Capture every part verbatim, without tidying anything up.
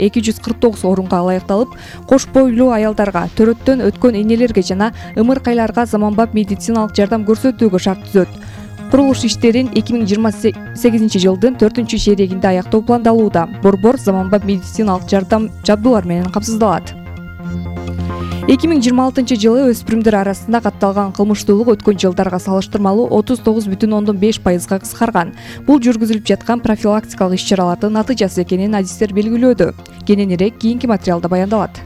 эки жүз кырк тогуз орунга ылайыкталып, кош бойлуу аялдарга, төрөттөн өткөн энелерге жана ымыркайларга заманбап медициналык жардам көрсөтүүгө шарт түзөт. Курулуш иштерин эки миң жыйырма сегизинчи жылдын төртүнчү чейрегинде аяктоо пландалууда. Борбор заманбап медициналык жардам жабдуулар менен камсыздалат. эки миң жыйырма алтынчы жылы өспүрүмдөр арасында катталган кылмыштуулук өткөн жылдарга салыштырмалуу отуз тогуз бүтүн ондон беш пайызга кыскарган. Бул жүргүзүлүп жаткан профилактикалык иш-чаралардын натыйжасы экенин адистер белгилөөдө. Кененирээк кийинки материалда баяндалат.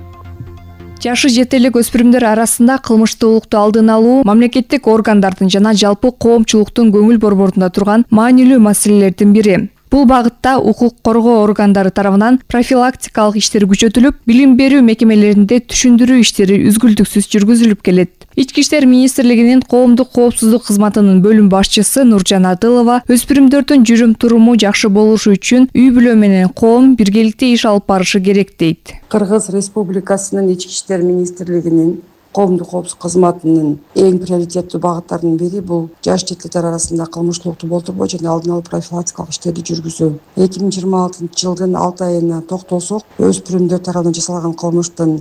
Жашы жете элек өспүрүмдөр арасында кылмыштуулукту алдын алуу мамлекеттик органдардын жана жалпы коомчулуктун көңүл борборунда турган маанилүү маселелердин бири. Бул багытта укук коргоо органдары тарабынан профилактикалык иштер күчөтүлүп, билим берүү мекемелеринде түшүндүрүү иштери үзгүлтүксүз жүргүзүлүп келет. Ички иштер министрлигинин коомдук коопсуздук кызматынын бөлүм башчысы Нуржан Адылова өспүрүмдөрдүн жүрүм-туруму жакшы болушу үчүн үй-бүлө менен коом биргеликте иш алып барышы керек дейт. Кыргыз Республикасынын Ички иштер министрлигинин коомдук коопсуздук кызматынын эң приоритеттүү багыттарынын бири бул жаш жетиликтер арасында кылмыштуулукту болтурбоо жана алдын алуу профилактикалык иштерди жүргүзүү. эки миң жыйырма алтынчы жылдын алты айына токтолсок, өспүрүмдөр тарабынан жасалган кылмыштын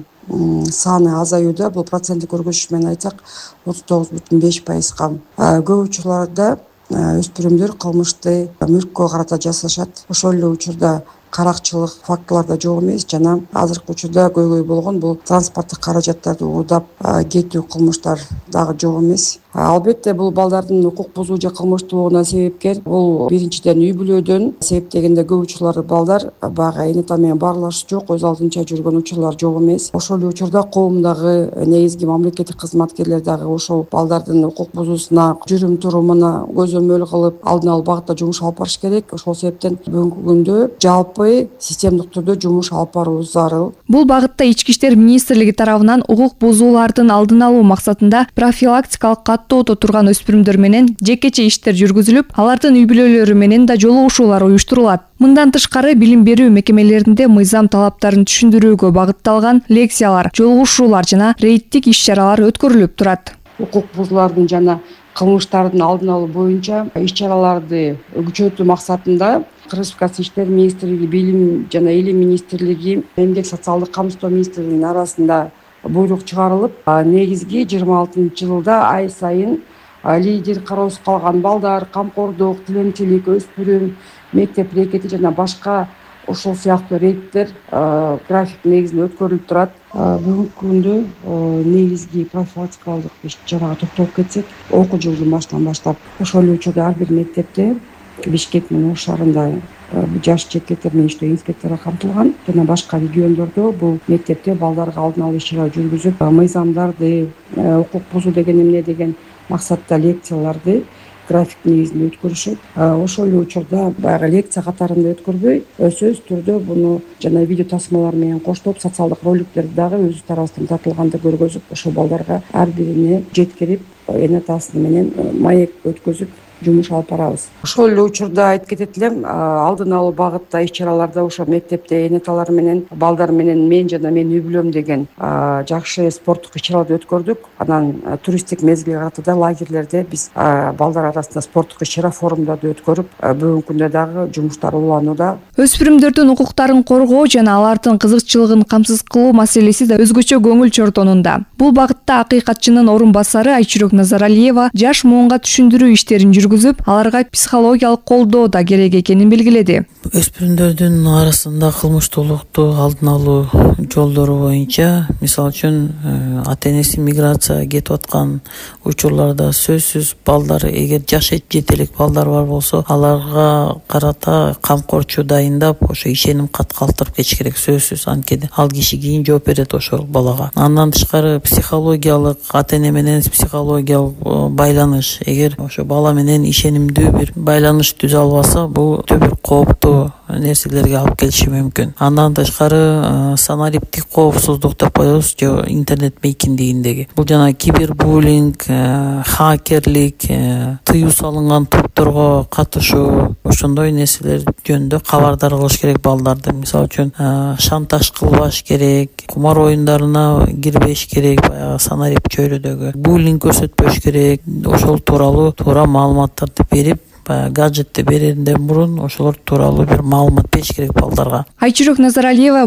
саны азаюуда. Бул проценттик көрсөткүч менен айтсак, отуз тогуз бүтүн беш пайызга. Көп учурларда өспүрүмдөр кылмышты мүлккө карата жасашат. Ошол эле учурда каракчылык фактылар да жок эмес жана азыркы учурда көйгөй болгон бул транспорттук каражаттарды уурдап кетүү кылмыштар дагы жок эмес. Албетте бул балдардын укук бузуу же кылмыштуулугуна себепкер. Бул биринчиден үй-бүлөдөн себептегенде көп учурларда балдар баягы эне ата менен баарлашуу жок, өз алдынча жүргөн учурлар жок эмес. Ошол эле учурда коомдагы негизги мамлекеттик кызматкерлер дагы ошол балдардын укук бузуусуна, жүрүм-турумуна көзөмөл кылып, алдын алуу багытта жумуш алып барыш керек. Ошол себептен бүгүнкү күндө жалпы системдик түрдө жумуш алып баруу зарыл. Бул багытта Ички иштер министрлиги тарабынан укук бузуулардын алдын алуу максатында профилактикалык каттоодо турган өспүрүмдөр менен жекече иштер жүргүзүлүп, алардын үй-бүлөлөрү менен да жолугушуулар уюштурулат. Мындан тышкары билим берүү мекемелеринде мыйзам талаптарын түшүндүрүүгө багытталган лекциялар, жолугушуулар жана рейдтик иш-чаралар өткөрүлүп турат. Укук бузуулардын жана кылмыштардын алдын алуу боюнча иш-чараларды күчөтүү максатында Кыргыз Республикасынын Иштер министрлиги, Билим жана Илим министрлиги, Эмгек социалдык камсыздоо министрлигинин арасында буйрук чыгарылып, негизги жыйырма алтынчы жылда ай сайын лидер, кароосуз калган балдар, камкордук, тилемчилик, өспүрүм, мектеп рекети жана башка ошол сыяктуу рейдтер график негизинде өткөрүлүп турат. Бүгүнкү күндө негизги профилактикалык иш-чарага токтолуп кетсек, окуу жылдын башынан баштап ошол эле учурда ар бир мектепте Бишкек менен Ош шаарында жаш жетиликтер менен иштөө инспектору камтылган жана башка региондордо бул мектепте балдарга алдын алуу иш-чара жүргүзүп, мыйзамдарды, укук бузуу деген эмне деген максатта лекцияларды график негизинде өткөрүшөт. Ошол эле учурда баягы лекция катарында өткөрбөй, сөзсүз түрдө буну жана видео тасмалар менен коштоп социалдык роликтерди дагы өзүбүз тарабыбыздан тартылганда көргөзүп, ошол балдарга ар бирине жеткирип, эне атасы менен маек өткөзүп жумуш алып барабыз. Ошол эле учурда айтып кетет элем, алдын алуу багытта иш-чараларда ошо мектепте эне аталар менен, балдар менен мен жана менин үй-бүлөм деген жакшы спорттук иш-чараларды өткөрдүк. Анан туристтик мезгилге карата да лагерлерде биз балдар арасында спорттук иш-чара форумдарды өткөрүп, бүгүнкү күндө дагы жумуштар уланууда. Өспүрүмдөрдүн укуктарын коргоо жана алардын кызыкчылыгын камсыз кылуу маселеси да өзгөчө көңүл чортонунда. Бул багытта акыйкатчынын орун басары Айчүрөк Назаралиева жаш муунга түшүндүрүү иштерин жүргүзүп, аларга психологиялык колдоо да керек экенин белгиледи. Өспүрүмдөрдүн арасында кылмыштуулукту алдын алуу жолдору боюнча, мисалы үчүн ата-энеси миграцияга кетип аткан учурларда сөзсүз балдар, эгер жаш жетелик балдар бар болсо, аларга карата камкорчу дайындап, ошо ишеним кат калтырып кетиш керек сөзсүз. Анткени ал киши кийин жооп берет ошол балага. Андан тышкары психологиялык, ата-эне менен психологиялык байланыш, эгер ошо бала менен ишенимдүү бир байланыш түзө албаса, бул өтө бир кооптуу нерселерге алып келиши мүмкүн. Андан тышкары санариптик коопсуздук деп коебуз, же интернет мейкиндигиндеги. Бул жана кибербуллинг, хакерлик, тыюу салынган топторго катышуу, ошондой нерселер жөнүндө кабардар кылыш керек балдарды. Мисалы үчүн шантаж кылбаш керек, кумар оюндарына кирбеш керек, баягы санарип чөйрөдөгү буллинг көрсөтпөш керек. Ошол тууралуу туура маалыматтарды берип, гаджетти берерден мурун ошолор тууралуу бир маалымат бериш керек балдарга. Айчүрөк Назаралиева